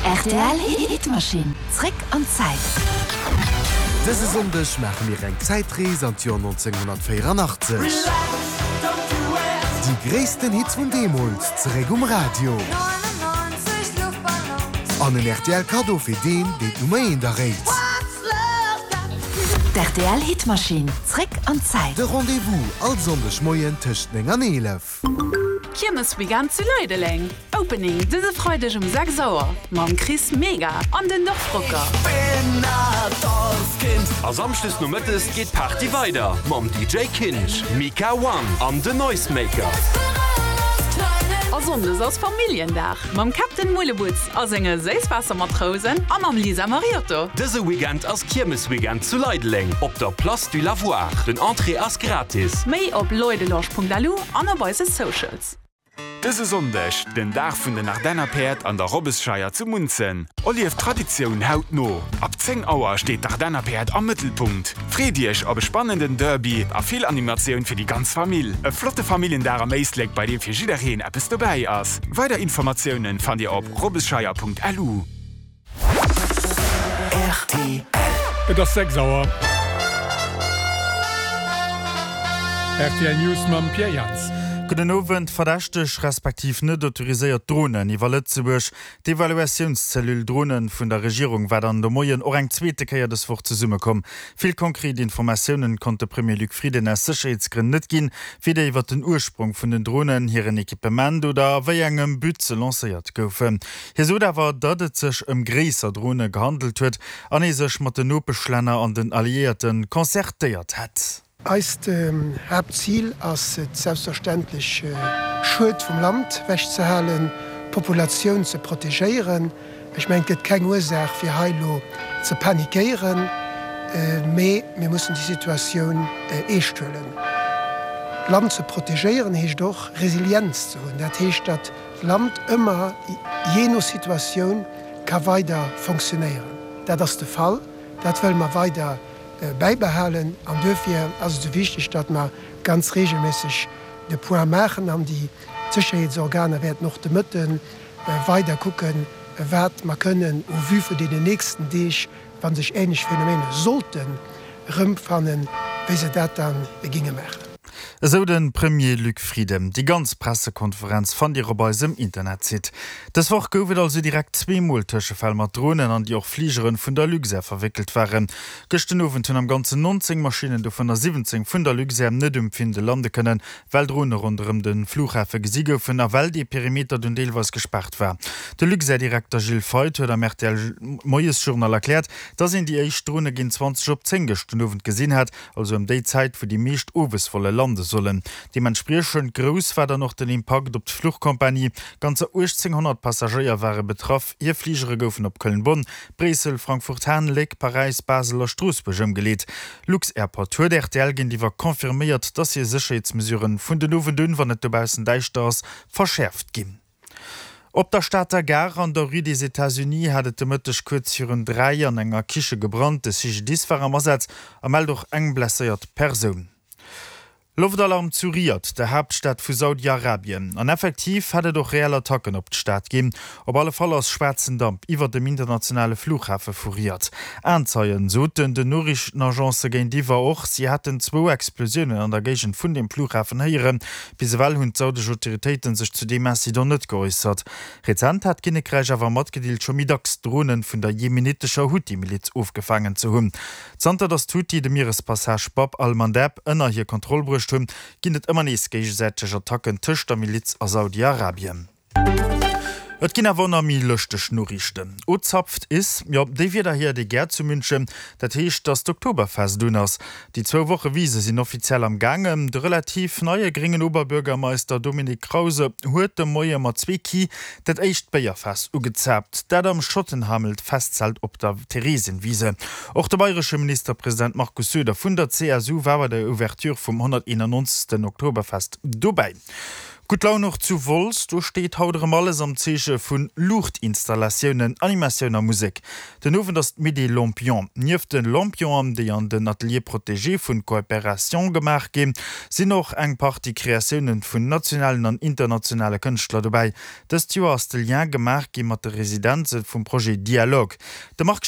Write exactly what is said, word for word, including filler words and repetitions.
Rtl Hitmaschinn, zréck an d'Zäit. Dëse Sonndeg maache mir eng Zäitrees an d'Joer nonzénghonnertvéieranachtzeg. Déi gréissten Hits vun deemools zeréck um Radio. An en R T L Kaddo fir deen, deen d'Nummer eent erréit. D'R T L Hitmaschinn, zréck an d'Zäit. De Rendez-vous all Sonndeg Moien tëscht néng an eelef. Kiermesweekend zu Leideleng. Opening dëse Freideg um sechs Auer mam Chris Mega an den Dorfrocker. A Samschdes nomëttes geet d'Party weider mam D J Kinch, Mika One an den Noisemaker. A Sonndes ass Familljendag mam Captain Mullebutz a senge Séisswaassermatrousen a mam Lisa Mariotto. Dëse Weekend ass Kiermesweekend zu Leideleng op der Place du Lavoir. Den Entrée ass gratis. Méi op leudelange Punkt L U an op eise Socials. Dëse Sonndeg, den Dag vun den Ardennerpäerd an der Robbesscheier zu Munzen. Erlieft d'Traditioun hautno. Ab zéng Auer steet d'Ardennerpäerd am Mëttelpunkt. Freet Iech op e spannenden Derby a vill Animatioun fir déi ganz Famill. E flotte Familljendag am Éislek, bei deem fir jiddereen eppes dobäi ass. Weider Informatiounen fannt Dir op robbesscheier Punkt L U. R T L. Et ass sechs Auer. R T L News mam Pierre Jans. Gudden Owend. Verdächteg respektiv net autoriséiert Dronen iwwer Lëtzebuerg. D'Evaluatiounszellule Dronen vun der Regierung war dann de Moien och eng zweete Kéier dës Woch zesummekomm. Vill konkret Informatiounen konnt de Premier Luc Frieden aus Sécherheetsgrënn net ginn, weder iwwer den Ursprong vun den Dronen, hiren Equipement oder a wéi engem But se lancéiert goufen. Hie sot awer, datt et sech ëm gréisser Drone gehandelt huet an ee sech mat den Nopeschlänner an den Alliéierte concertéiert hätt. Eist Haaptzil ass et selbstverständlech, Schued vum Land ewechzehalen, d'Populatioun ze protegéieren. Ech mengen, et gëtt keng Ursaach fir hei lo ze panikéieren, mee mir mussen déi Situatioun eescht huelen. Land ze protegéieren heescht och Resilienz ze hunn. Dat heescht, datt d'Land ëmmer jee no Situatioun ka weider funktionéieren. Dat ass de Fall, dat wëlle mer weider bäibehalen an duerfir ass et sou wichteg, datt mer ganz reegelméisseg de Point maachen an déi Sécherheetsorganer wäerten och de Mëtte weider kucken, wat mer kënnen au vu vun deenen nächsten Deeg, wa sech änlech Phänomene sollten erëmfannen, wéi se dat dann ginge maachen. Esou de Premier Luc Frieden. Déi ganz Pressekonferenz fannt Dir op eisem Internetsite. Dës Woch gouf et also direkt zweemol Tëschefäll mat Dronen, an déi och Fligeren vun der Luxair verwéckelt waren. Gëschter Owend hunn am Ganzen nonzéng Maschinnen, dovunner siwwenzéng vun der Luxair, net um Findel lande kënnen, well Drone ronderëm de Flughafe gesi goufen a well de Perimeter dunn deelweis gespaart war. De Luxair-Direkter Gilles Feith huet am R T L Moiesjournal erkläert, dass een déi éischt Drone géint zwanzeg op zéng gëschter Owend gesinn hat, also ëm déi Zäit, wou déi meescht Owesvolle lande sollen. Deementspriechend grouss war dann och den Impakt op d'Fluchkompanie. Ganzer uechtzénghonnert Passagéier ware betraff. Hir Fligere goufen op Köln-Bonn, Bréissel, Frankfurt Hahn, Léck, Paräis, Basel a Stroossbuerg ëmgeleet. Lux-Airport huet R T L géintiwwer confirméiert, dass hir Sécherheetsmesuren vun den Owend un, wann et dobaussen däischter ass, verschäerft ginn. Op der Stater Gare an der Rue des États-Unis hat et de Mëtteg kuerz virun dräi an enger Kiche gebrannt. De C G D I S war am Asaz a mellt och eng blesséiert Persoun. Loftalarm zu Riyadh, der Haaptstad vu Saudi-Arabien. An effektiv hat et och reell Attacken op d'Stad ginn. Op alle Fall ass schwaarzen Damp iwwer dem internationale Flughafe vu Riyadh. Aenzeien soten den Noriichtenagence géintiwwer och, si hätten zwou Explosiounen an der Géigend vun dem Flughafen héieren. Bis ewell hunn d'saudesch Autoritéite sech zu deem Incident net geäussert. Rezent hat d'Kinnekräich awer matgedeelt, scho méi dacks Dronen vun der jemenitescher Huthi-Miliz ofgefaangen ze hunn. Zanter datt d'Huthi de Mierespassage Bab al-Mandeb ënner hir Kontroll bruecht hunn, ginn et ëmmer nees géigesäiteg Attacken tëscht der Miliz a Saudi-Arabien. Et ginn awer nach méi lëschteg Noriichten. Ozapft is, jo, déi Wierder héiert ee gär zu München. Dat heescht, datt d'Oktoberfest un ass. Déi zwou Woche Wise sinn offiziell am Gaangen. De relativ neie gréngen Oberbürgermeister Dominik Krause huet de Moie mat zwee Ki dat éischt Béierfaass ugezaapt. Dat am Schottenhamel Festzelt op der Theresienwiese. Och de bayresche Ministerpresident Markus Söder vun der C S U war bei der Ouverture vum honnerteenannonzegsten Oktoberfest dobäi. Gutt Laun och zu Wolz, do steet haut erëm alles am Zeeche vu Luuchtinstallatiounen, Animatioun a Musek. Den Owend ass d'Nuit des Lampions. Nieft de Lampionen, déi an den Ateliers protégés vun Coopération gemaach ginn, sinn och eng Partie Kreatiounen vun nationalen an internationale Kënschtler dobäi. Dëst Joer ass de Lien gemaach gi mat de Residenze vum Projet Dialogue. De Marc